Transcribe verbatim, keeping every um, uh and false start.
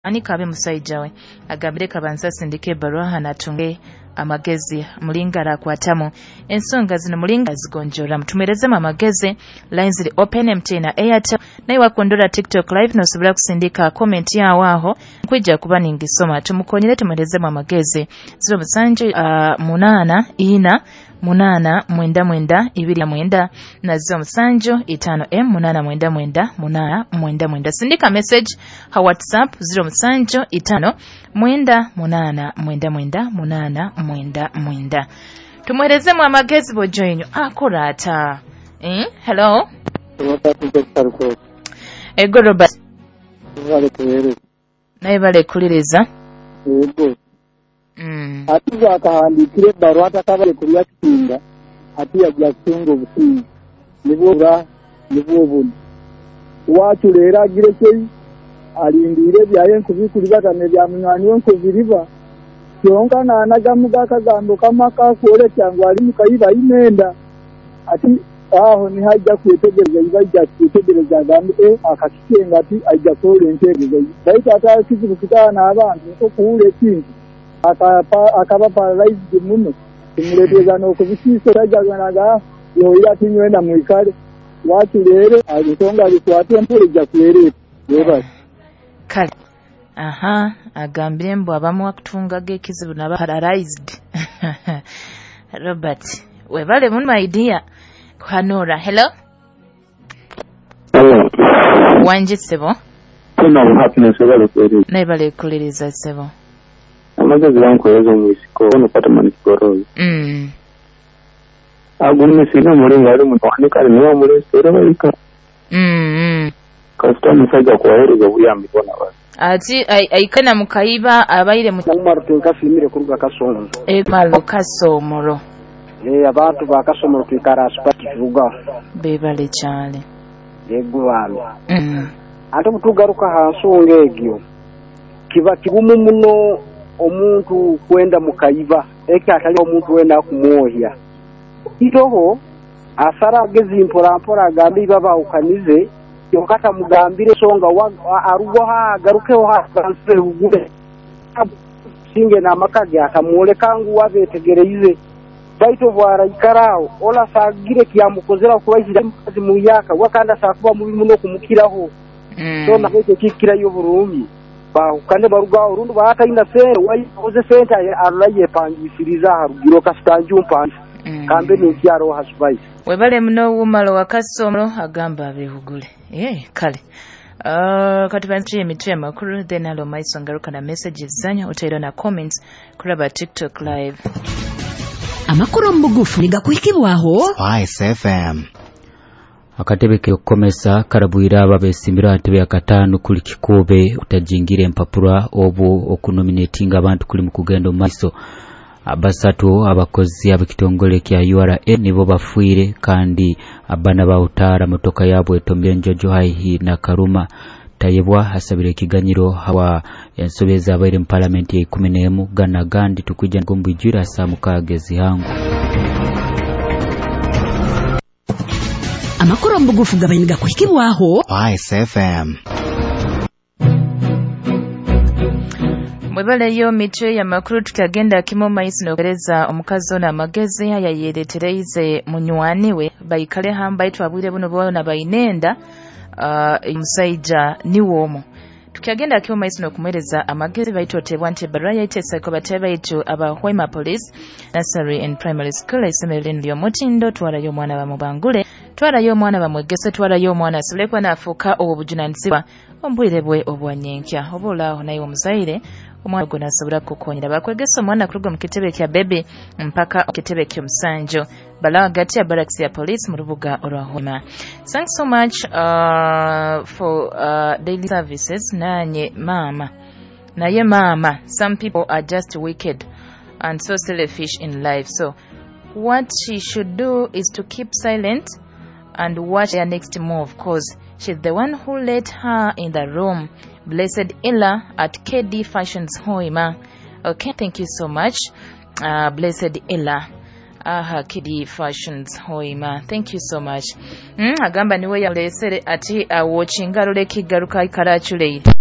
Ani kabe musaija we agambire kabanza asindike ebbaruha hanatunge amagezi mulinga arakwatamu ensonga zino, mulinga azigonjora. Mutumerezemu amagezi. Lines ziri open, M T N na Airtel. Naye wakundura TikTok live, nosobora kusindika comment yawo aho, nkwija kuba ningisoma. Tumukonyere, tumuherezemu amagezi. Ziro musanju uh, munaana ina munaana mwenda mwenda ibiri mwenda na ziro musanju itaano m munaana mwenda mwenda munaana mwenda mwenda. Sindika message ha WhatsApp ziro musanju itaano mwenda munaana mwenda mwenda munaana mwenda mwenda. Tumuherezemu amagezi. Bojoinyu akora ata, eh? Hello. Ego Robert. Naye balekuliriza. Ego. mm. Ati akahandikire ebbaruha atakabale kulya kitinga, ati yajja kutunga obusinge nibwo bura nibwo buno waculeera agire kyei alindiire ebyaye nkubikulibagana ebya munywani we nkubiriba kyonka naanagamuga akagambo kamwe akakwolekya ngu ali mukayiba ayina ati aho niho ajja kwetegereza, iba ajja kwetegereza agambe e akakikenga ati ajja kwola entegereza, baitu ate kizibu kitaana abantu nkokuwula ekintu akaba paralyzed muno kimuleeteza n'okubisiisa tajaganaga yoyira ati nywenda mwikale wakireere ensonga abikwate empola ejja kwereeta. Webale. Kale, aha, agambire mbu abamu akutungaga ekizibu naba paralyzed. Robert, webale muno, my dear. Kuhanura, hello. Hello. Wangi ssebo. Tuna Happiness, webale kwereeza. Naye balekuliriza ssebo. Amagezi gankuweereza omwisiko ono Patamani Kigoroyi. mm. Agumye singa omulinga ali mutwani kale niwe omuleese era bayika. mm, mm. Kasita omusajja kuwaheereza obuyambi bwona bali. Ati aikana mukayiba abaire mu Umar tinkasimire kuruga Kasonzo. Emalo Kasomoro. Eh, abantu ba Kasomoro twikara asipati turuga. Bebale kyale. Yego bambi. mm. Ate butugaruka ha nsonga egyo, kiba kigumu muno omuntu kwenda mukayiba eki atali omuntu wena akumwohya itoho asara agezi mpora mpora agambe iba bawukanize kyonka tamugambire ensonga arugwaho agarukeho hansire bugule singe n'amaka ge atamwoleka ngu wabetegereize, baitu bwaraikara aho ola sagire kyamukozera kuba mukazi muyaka wakanda sakuba mubi muno kumukiraho. Mm. So nabekyo kikirayo burungi bahukane barugaho rundi baataina sente waikoze sente arora yepangisiriza aharugiro kasitanju mpangisa. Mm. Kambe nenkyaro hasibaisi. Webale muno wumalo wa Kasomoro, agamba abehugule. Eh, kale. Uh, katubanzie emitwe amakuru, then alo maiso ngaruka na messages zanyu otaira na comments kuraba TikTok live. Amakuru omu bugufu nigakuhikibwaho Spice F M. Akatebe k'okukomesa karabwire abo abesimbire aha ntebe ya kataano kuli kikube kutajingira empapura obu okunominatinga abantu kuli mu kugenda omu maiso. Basatu abakozi ab'ekitongole kya U R A nibo bafiire kandi abana bawutaara motoka yabwe etomire enjojo haihi na Karuma. Tayebwa asabire ekiganyiro hawa ensobi ezabaire mu palamenti ya ikumi n'emu. Gana gandi tukwija ngombwijwire asa mukaaga ezihangu. Amakuru omu bugufu gabaire nigakuhikibwaho Spice F M. Mwebaleyo mitwe y'amakuru. Tukagenda kimo maiso nokuhereza omukazi ono amagezi ayayeretereize munywani we baikale hamba itwabwire buno bona bainenda uh, omusaija niwe omu. Tukagenda kimo maiso nokumuhereza amagezi baitotebwa nti ebbaruha yaitesako batebe baitu aba Hoima Police Nursery and Primary School, isomero lino ly'omutindo. Twarayo omwana bamubangule, twarayo omwana bamwegese, twarayo omwana asobole kuba naafuuka obwo bujunanizibwa omu bwire bwe obwanyenkya. Oba olaaho naye omuzaire omwana ogwo nasobora kukukonyera bakwegesa omwana kuruga mu kitebe kya bebi mpaka mu kitebe ky'omusanju bala hagati ya barracks ya police mu rubuga orwa Hoima. Thanks so much uh, for uh, daily services. Nanye mama, naye mama, some people are just wicked and so selfish in life, so what she should do is to keep silent and watch their next move, 'cause she's the one who let her in the room. Blessed Ella at K D Fashions Hoima. Okay, thank you so much. Uh, Blessed Ella. Aha, K D Fashions Hoima. Thank you so much. Mm, agamba niwe yalesere ati awochinga role kigaruka ikarachuleire.